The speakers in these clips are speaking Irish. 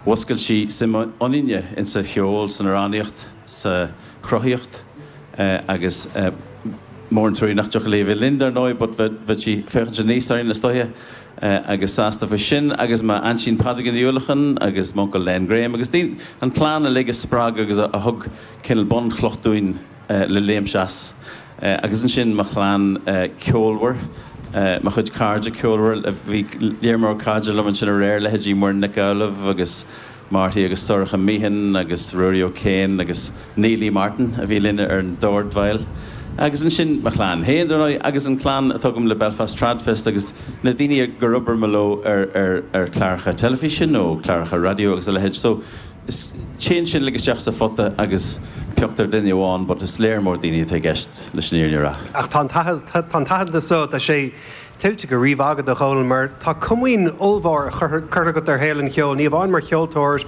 Mhuscail sí suim ionainne insa cheol, san amhránaíocht, sa chruthaíocht agus mór an truaí nach dtiocfadh léi a bheith linn dar ndóigh but bheadh sí ag féachaint aníos orainn is dóiche agus sásta faoi sin agus m'aintín Pádraigín Uí Uallacháin agus m'uncail Len Graham agus daoine, an chlann uilig a spreag agus a thug cineál bunchloch dúinn le léimt as. Agus ansin mo chlann ceolmhar, mo chuid cairde ceolmhar, bhí léar mór cairde liom ansin aréir, leithéidí Muireann Nic Amhlaoibh agus Marty agus Sorcha Meehan agus Ruairí O'Kane agus Neilí Martin a bhí linn ar an dordveidhil. Agus ansin mo chlann féin, dar ndóigh, agus an chlann atá agam le Belfast Tradfest agus na daoine gur oibir mé leo ar ar chláracha teilifíse nó cláracha raidió agus a leithéid. So, Is téann sin uilig isteach sa phota agus pioctar duine amháin but is léar mór daoine atá i gceist leis an fhírinne a rá. Ach tá an t-aitheantas so, tá sé tuillte go rímhaith agat, a Dhónaill, mar tá comaoin ollmhór curtha agat ar shaol an cheoil, ní amháin mar cheoltóir,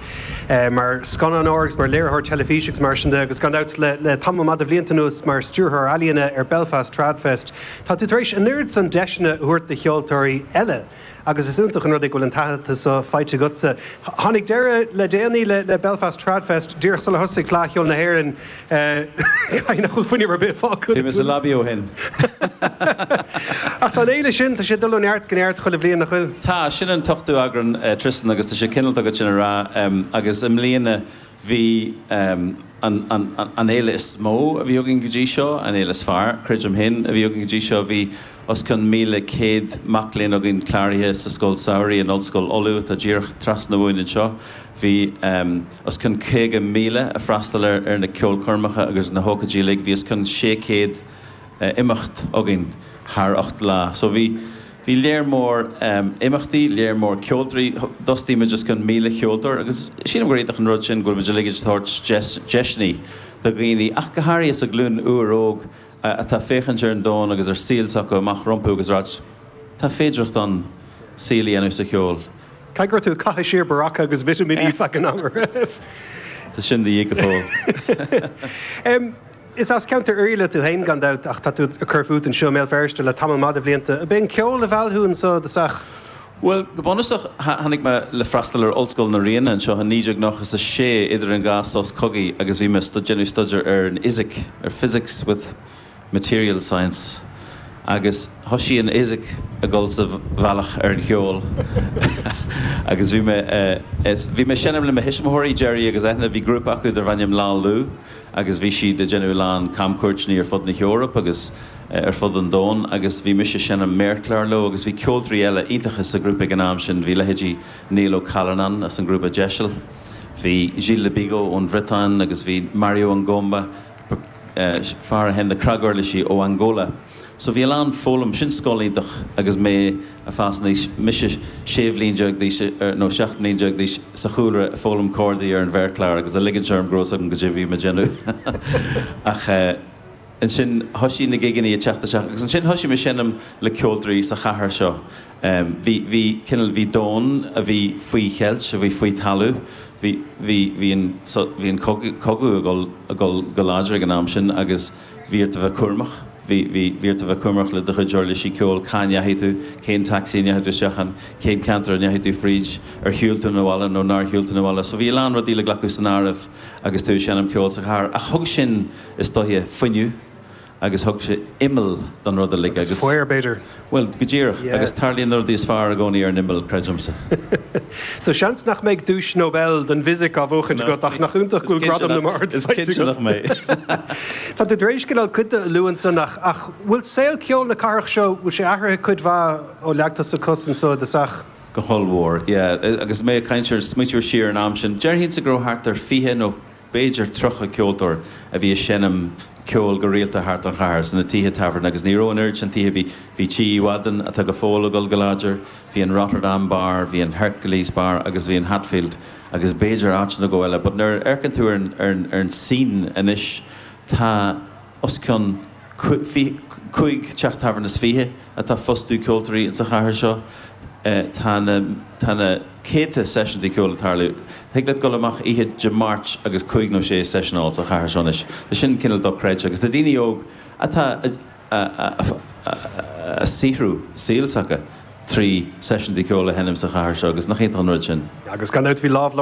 mar scannánóir agus mar léiritheoir teilifíse agus mar sin de, agus gan dabht le tamall maith de bhlianta anuas mar stiúrthóir ealaíona ar Belfast Tradfest. Tá tú tar éis an oiread san deiseanna a thabhairt do cheoltóirí eile. Agus is iontach an rud é go bhfuil an t-aitheantas so faighte agatsa. Tháinig deireadh le déanaí le Belfast Tradfest, díreach sular thosaigh Fleadh Cheoil na hÉireann. Caithfidh nach bhfuil fuinneamh ar bith fágtha. Bhí mé sa lobby ó shin. Ach tá an fhéile sin, tá sé ag dul ó neart go neart chuile bhliain, nach bhfuil? Tá, sin an t-ochtú eagrán, Tristan, agus tá sé cineálta agat sin a rá. Agus i mbliana Bhí an fhéile is mó a bhí againn go dtí seo, an fhéile is fearr, creidim féin, a bhí againn go dtí seo. Bhí os cionn 1,100 mac léinn againn cláraithe sa Scoil Samhraidh in Ollscoil Uladh, atá díreach trasna uainn anseo. Bhí os cionn 50,000 a freastal ar na ceolchoirmeacha agus na hócáidí uilig. Bhí os cionn 600 imeacht againn thar 8 lá. So bhí. Bhí léar mór imeachtaí, léar mór ceoltóirí, d'fhostaigh muid os cionn 1,000 cheoltóir agus sílim gur iontach an rud sin go bhfuil muid uilig ag tabhairt deiseanna do dhaoine, ach go háirithe sa ghlúin úr óg atá ag féachaint ar an domhan agus ar saol s'acu amach rompu agus ag ráit tá féidearthacht ann saol a dhéanamh sa cheol. Caithfidh go raibh tú ag caitheamh siar Berocca agus vitimíní feadh an ama roimh. Tá sin de dhíth go fóill. Is as ceantar Oirialla tú féin gan dabht ach tá tú ag cur fút anseo i mBéal Feirste le tamall maith de bhlianta. Ab é an ceol a mheall thú anseo i dtosach? Bhuel, go bunúsach, tháinig mé le freastal ar Ollscoil na Ríona anseo i 1996 idir an dhá sos cogaidh agus bhí mé ag déanamh staidéar ar an fhisic, ar Physics with Material Science agus thoisigh an fhisic ag dul sa bhealach ar an cheol agus bhí mé, bhí mé ag seinm le mo thuismitheoirí, Gerry agus Eithne, bhí grúpa acu darbh ainm Lá Lugh agus bhí siad ag déanamh a lán camchuairteanna ar fud na hEorpa agus ar fud an domhain agus bhí mise ag seinm méarchlár leo agus bhí ceoltóirí eile iontacha sa ghrúpa ag an am sin, bhí leithéidí Niall Ó Callanáin as an ngrúpa Deiseal, bhí Gilles Le Bigot ón Bhriotáin agus bhí Mario Ngomba, fear a sheinn na cnaguirlisí ó Angola. So bhí a lán foghlaim, sin scoil iontach agus mé ag fás aníos, mise 16 bhliain d'aois nó 17 mbliain d'aois sa chúlra ag foghlaim cordaí ar an mhéarchlár agus ag ligint orm go raibh 'fhios agam goidé a bhí mé ag déanamh. Ach ansin thoisigh na gigeanna ag teacht isteach agus ansin thoisigh mé seinm le ceoltóirí sa chathair seo. Bhí, bhí, cineál, bhí domhan a bhí faoi cheilt, a bhí faoi talamh, bhí, bhí, bhí an, bhí an cogadh, cogadh ag dul, ag dul go láidir ag an am sin agus bhí ort a bheith cúramach. Bhí, bhí, bhí ort a bheith cúramach le do chuid uirlisí ceoil, cá ndeachaigh tú, cén tacsaí a ndeachaigh tú isteach ann, cén ceantar a ndeachaigh tú fríd, ar shiúil tú 'na bhaile nó nár shiúil tú 'na bhaile. So bhí a lán rudaí le glacadh san áireamh agus tú ag seinm ceoil sa chathair. Ach thug sin, is dóiche, fuinneamh. agus thug sé imeall don rud uilig agus. Agus faobhar, b'fhéidir. Bhuel, go díreach. Yeah. Agus tarlaíonn na rudaí is fearr i gcónaí ar an imeall, creidimse. So seans nach mbeidh duais Nobel don bhfisic á bhuachaint agat ach nach iontach go bhfuil gradam na mbard Is cinnte nach mbeidh. Tá tú tar éis cineál cuid de a lua ansan ach ach bhfuil saol ceoil na cathrach seo, bhfuil sé athraithe cuid mhaith ó leag tusa cos anso i dtosach? Go hollmhór, yeah. Agus mé ag caint ar, smaoitiú siar ar an am sin, déarfainnse go raibh thart ar 20 nó b'fhéidir 30 ceoltóir a bhí ag seinm ceoil go rialta thart an chathair, sna tithe tábhairne agus ní raibh an oiread sin tithe, bhí, bhí Tí Uí Mhadáin, atá go fóill ag dul go láidir, bhí an Rotterdam Bar, bhí an Hercules Bar agus bhí an Hatfield agus b'fhéidir áit nó dhó eile but nuair a amharcann tú ar an, ar an, ar an scene anois tá os cionn 5 teach tábhairne is 20 atá ag fostú ceoltóirí insa chathair seo. Tá na tá na céadta seisiúntaí ceoil ag tarlú. Thig leat dul amach oíche Dé Máirt agus cúig nó sé seisiún a fháil sa chathair seo anois. Tá sin cineál dochreidte agus tá daoine óg atá a saothrú saol s'acu trí seisiúntaí ceoil a sheinm sa chathair seo agus nach iontach an rud sin. Agus gan dabht bhí lámh.